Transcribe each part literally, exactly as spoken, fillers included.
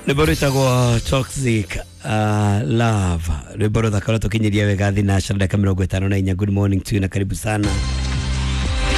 Rwĩmbo rwĩtagwo Toxic uh, Love, rwĩmbo rũthaka rũtũkinyiria wega thinacara ndagĩka mĩrongo ĩtano na inya. Good morning to you na karibu sana.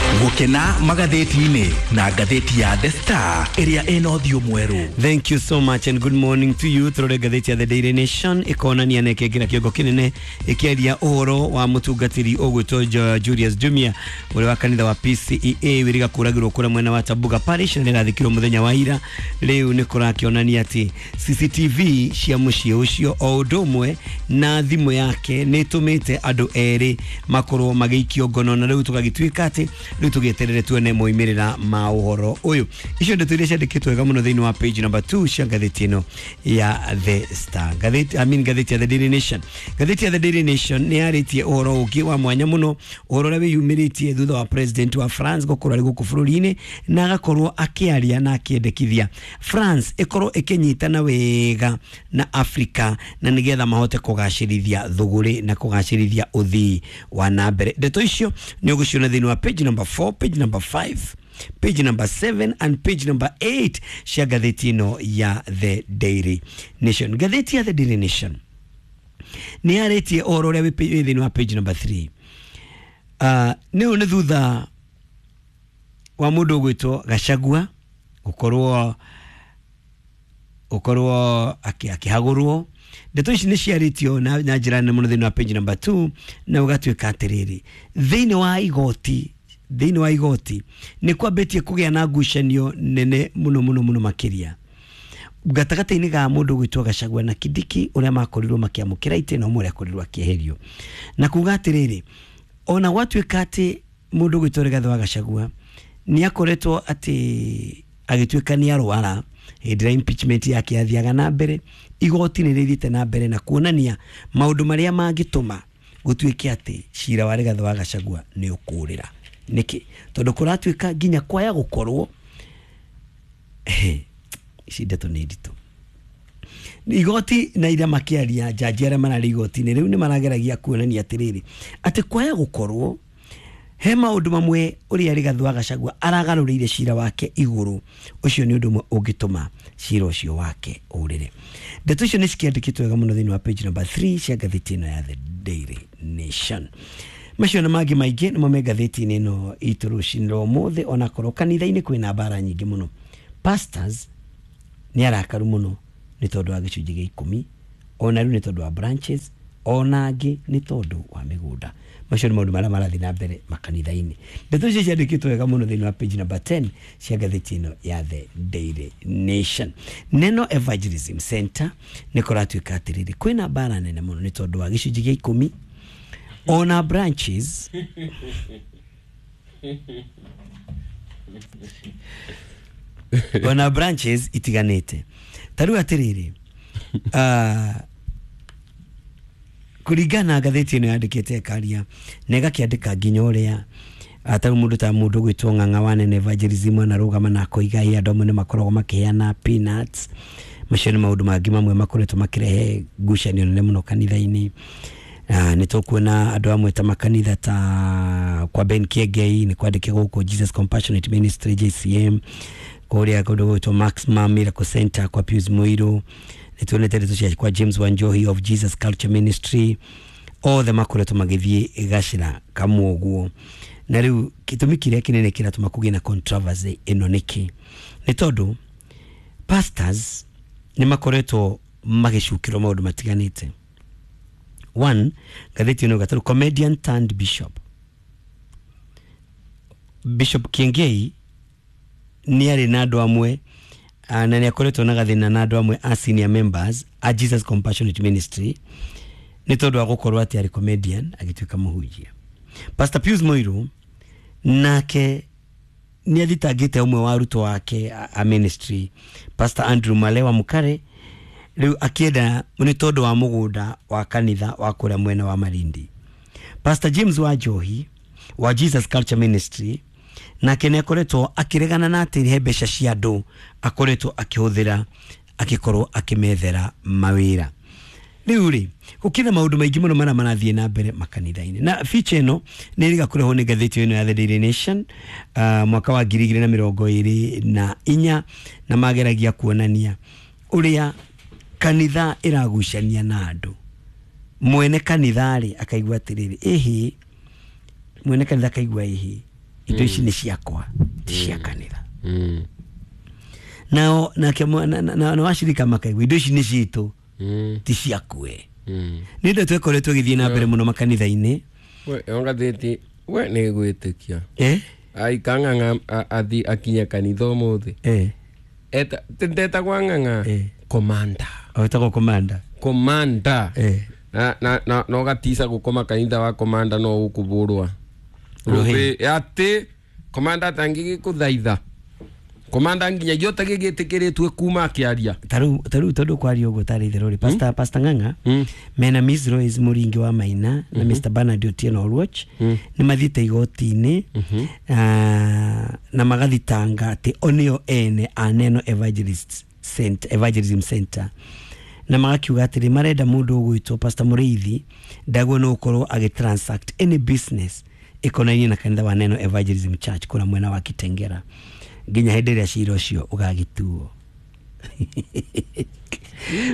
Gũkena magathĩti-inĩ na ngathĩti ya The Star ĩrĩa ĩna ũthiũ mwerũ. Thank you so much and good morning to you. Turore ngathĩti ya The Daily Nation ĩkonania na ĩkĩingĩra kĩongo kĩnene ĩkĩaria ũhoro wa mũtungatĩri ũgwĩtwo Julius Jumia ũrĩa wa kanitha wa P C E A wĩrĩga kũragĩrwo kũrĩa mwena wa Tabuga Parish na nĩrathikirwo mũthenya wa ira. Rĩu nĩ kũrakĩonania atĩ C C T V cia mũciĩ ũcio o ũndũ ũmwe na thimũ yake nĩ ĩtũmĩte andũ erĩ makorwo magĩikio ngono, na rĩu tũgagĩtuĩka atĩ rĩu tũgĩeterere tuone moimĩrĩra ma ũhoro ũyũ. Icio ndeto iria ciandĩkĩtwo wega mũno thĩinĩ wa page number two cia ngathĩti ĩno ya The Star. Ngathĩti, I mean ngathĩti ya The Daily Nation. Ngathĩti ya The Daily Nation nĩ yarĩtie ũhoro ũngĩ wa mwanya mũno, ũhoro ũrĩa wĩyumĩrĩtie thutha wa president wa France gũkorwo arĩ gũkũ bũrũri-inĩ na agakorwo akĩaria na akĩendekithia France ĩkorwo ĩkĩnyitana wega na Africa na nĩgetha mahote kũgacĩrithia thũgũrĩ na kũgacĩrithia ũthii wa na mbere. Ndeto icio nĩ ũgũciona thĩinĩ wa page number four, page number five, page number seven and page number eight cia ngathĩti ĩno ya The Daily Nation. Ngathĩti ya The Daily Nation nĩ yarĩtie ũhoro ũrĩa wĩ thĩinĩ wa page number three. Uh, nĩ nĩ thutha wa mũndũ ũgwĩtwo Gachagua gũkorwo gũkorwo akĩhagũrwo. Ndeto ici nĩ ciarĩtio na njĩra nene mũno thĩinĩ wa page number two, na ũgatuĩka atĩrĩrĩ, thĩinĩ wa igoti thĩinĩ wa igoti nĩ kwambĩtie kũgĩa na ngucanio nene mũno mũno mũno makĩria gatagatĩ-inĩ ga mũndũ ũgwĩtwo Gachagua na Kindiki ũrĩa makorirwo makĩamũkĩra itĩ na ũmwe ũrĩa akorirwo akĩeherio, na kuga atĩrĩrĩ, ona gwatuĩka atĩ mũndũ ũgwĩtwo Rigathĩ wa Gachagua nĩ akoretwo atĩ agĩtuĩka nĩ arwara hĩndĩ ĩrĩa impeachment yake yathiaga na mbere, igoti nĩ rĩthiĩte na mbere na kuonania maũndũ marĩa mangĩtũma gũtuĩke atĩ cira wa Rigathĩ wa Gachagua nĩ ũkũrĩra. Nĩkĩ? Tondũ kũratuĩka nginya kwaya gũkorwo ici ndeto nĩ nditũ. Igoti na iria makĩaria jaji arĩa mararĩ igoti-inĩ rĩu nĩ marageragia kuonania atĩrĩrĩ, atĩ kwaya gũkorwo he maũndũ mamwe ũrĩa Rigathĩ wa Gachagua aragarũrĩire cira wake igũrũ, ũcio nĩ ũndũ ũmwe ũngĩtũma cira ũcio wake ũrĩre. Ndeto icio nĩ cikĩandĩkĩtwo wega mũno thĩinĩ wa page number three cia ngathĩti ĩno ya The Daily Nation. Macio na mangĩ maingĩ nĩmo me ngathĩti-inĩ ĩno itũ rũcinĩ rwa ũmũthĩ, onakorwo kanitha-inĩ kwĩna mbara nyingĩ mũno. Pastors nĩ arakaru mũno nĩ tondũ wa gĩcunjĩ gĩa ikũmi, ona rĩu nĩ tondũ wa branches, ona angĩ nĩ tondũ wa mĩgũnda. Macio nĩ maũndũ marĩa marathiĩ na mbere makanitha-inĩ. Ndeto icio ciandĩkĩtwo wega mũno thĩinĩ wa page number ten cia ngathĩti ĩno ya The Daily Nation. Neno Evangelism Center nĩ kũratuĩka atĩrĩrĩ, kwĩna mbara nene mũno nĩ tondũ wa gĩcunjĩ gĩa ikũmi, ona branches ona branches itiganĩte. Ta rĩu atĩrĩrĩ, uh, kũringana na ngathĩti ĩno yandĩkĩte ĩkaria na ĩgakĩandĩka nginya ũrĩa ta mũndũ ta mũndũ ũgwĩtwo Ng'ang'a wa Nene Evangelism anarũgama na akoiga ĩ andũ amwe nĩ makoragwo makĩheana peanuts. Macio nĩ maũndũ mangĩ mamwe makoretwo makĩrehe ngucanio nene mũno kanitha-inĩ. Uh, nĩ tũkuona andũ amwe ta makanitha ta kwa Ben Kiengei nĩ kwandĩke gũkũ Jesus Compassionate Ministry J C M, kũrĩa kũndũ gwĩtwo Maximum Miracle Center kwa Pius Muiru, nĩ tuonete ndeto cia kwa James Wanjohi of Jesus Culture Ministry, othe makoretwo magĩthiĩ gacĩra kamwe ũguo. Na rĩu gĩtũmi kĩrĩa kĩnene kĩratũma kũgĩe na controversy ĩno nĩkĩ? Nĩ tondũ pastors nĩ makoretwo magĩcukĩrwo maũndũ matiganĩte. One, ngathĩti ĩno gatarũ comedian turned bishop. Bishop Kiengei nĩ arĩ na andũ amwe na nĩ akoretwo na gathĩna na andũ amwe a senior members a Jesus Compassionate Ministry nĩ tondũ wa gũkorwo atĩ arĩ comedian agĩtuĩka mũhunjia. Pastor Pius Muiru nake nĩ athitangĩte ũmwe wa arutwo ake a ministry, Pastor Andrew Malewa Mukare, rĩu akĩenda nĩ tondũ wa mũgũnda wa kanitha wa kũrĩa mwena wa Malindi. Pastor James Wanjohi wa Jesus Culture Ministry nake nĩ akoretwo akĩregana na atĩ he mbeca cia andũ akoretwo akĩhũthĩra akĩkorwo akĩmethera mawĩra. Rĩu rĩ, gũkĩrĩ maũndũ maingĩ mũno marĩa marathiĩ na mbere makanitha-inĩ, na feature ĩno nĩ ĩrĩga kũrehwo nĩ ngathĩti ĩno ya The Daily Nation uh, mwaka wa ngiri igĩrĩ na mĩrongo ĩrĩ na inya, na mageragia kuonania Uria kanitha iragucania na andu mwene kanitha ri akaigua atiriri ihi mwene kanitha akaigua ihi indo ici ni ciakwa ti cia kanitha. Mm. Nao nake na, na, na washirika makaigua indo ici ni citu mm. ti ciakwe. Mm. Ni ndo twekoretwo githie na mbere muno makanitha-ini. We ongatheti we ni gwitikia eh ai kang'ang'a athi akinya kanitha umuthi eh eta ndeta kwa ng'ang'a eh. Komanda awetagwo komanda komanda eh na na na no gatisa gukoma kanitha wa komanda no ukuburwa rubi ati komanda tangigikuthaitha komanda nginya giote gigitikiritwe kuma akiaria taru taru tondu kwaria uguo tari itherũ rĩ pastor mm? Pastor Ng'ang'a mm. mena Miss Rose Muringi wa Maina mm -hmm. na Mister Bernard Otieno Oluoch mm. ni mathiĩte igoti-inĩ mm -hmm. uh, na magathitanga atĩ o nĩo ene a Neno Evangelist Center, Evangelism Center na magakiuga atĩrĩ marenda mũndũ ũgwĩtwo Pastor Mũrĩithi ndagwo no ũkorwo agĩ transact any business ĩkonainie na kanitha wa Neno Evangelism Church kũrĩa mwena wa Kitengera nginya hĩndĩ ĩrĩa cira ũcio ũgagĩtuo.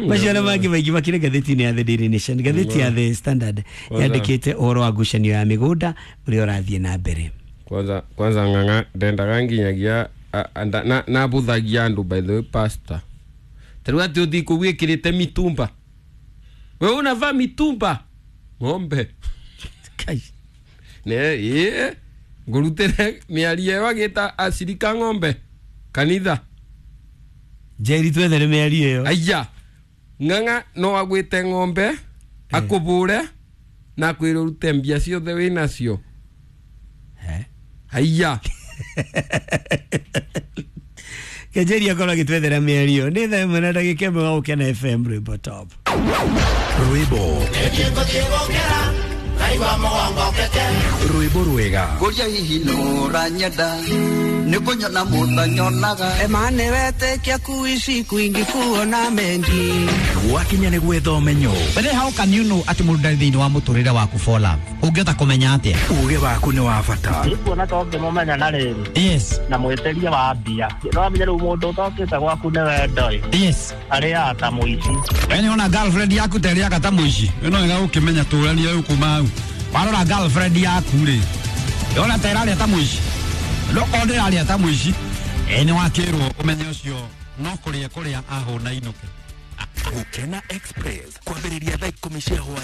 Macio na mangĩ maingĩ makĩrĩ ngathĩti-inĩ ya The Daily Nation. Ngathĩti ya The Standard yandĩkĩte ũhoro wa ngucanio ya mĩgũnda ũrĩa ũrathiĩ na mbere. Kwanza kwanza Ng'ang'a ndendaga nginyagia nabuthagia andũ by the way pastor tarĩu atĩ ũthiĩ kũu wĩkĩrĩte mitumba we unavaa mitumba ng'ombe Kai. ne ĩĩ ngũrutĩre mĩario ĩyo agĩta acirika ng'ombe kanitha Njeri twethere mĩario ĩyo aya Ng'ang'a no agwĩte ng'ombe akũbũre na akwĩre ũrute mbia ciothe wĩnacio aya Kenjeri akorwo agĩtwethera mĩario nĩ thaa ĩmwe na ndagĩka ĩmwe wa Gũkena F M rwĩmbo top rwĩmbo rwĩmbo rwega Ngoria hihi nũranyenda nĩ kũnyona mũtanyonaga Emane wetĩkia kuishi kwingi kuona mengi gwakinya nĩ gwetha ũmenyo. But then how can you know atĩ mũndũ ndarĩ thĩinĩ wa mũtũrĩre waku for love? Ũngĩhota kũmenya atĩa? Uge waku nĩ wa bata. Nĩkuona to ngĩmũmenya na rĩrĩ Yes. na mwĩtĩria wa mbia no amenye rĩu mũndũ ũtokĩte gwaku nĩ wendo ĩ Yes. arĩaga ta mũici. We nĩ ona girlfriend yaku ta ĩrĩaga ta mũici. Ĩno wega ũkĩmenya tũrania rĩu kuma hau. Warora girlfriend yaku rĩ, yona ta ĩrarĩa ta mũici. No korwo ndĩrarĩa ta mũici, ĩ nĩ wakĩrwo ũmenye ũcio no kũrĩa kũrĩa ahũna inũke. Gũkena Express kwambĩrĩria thaa ikũmi cia hwaĩ.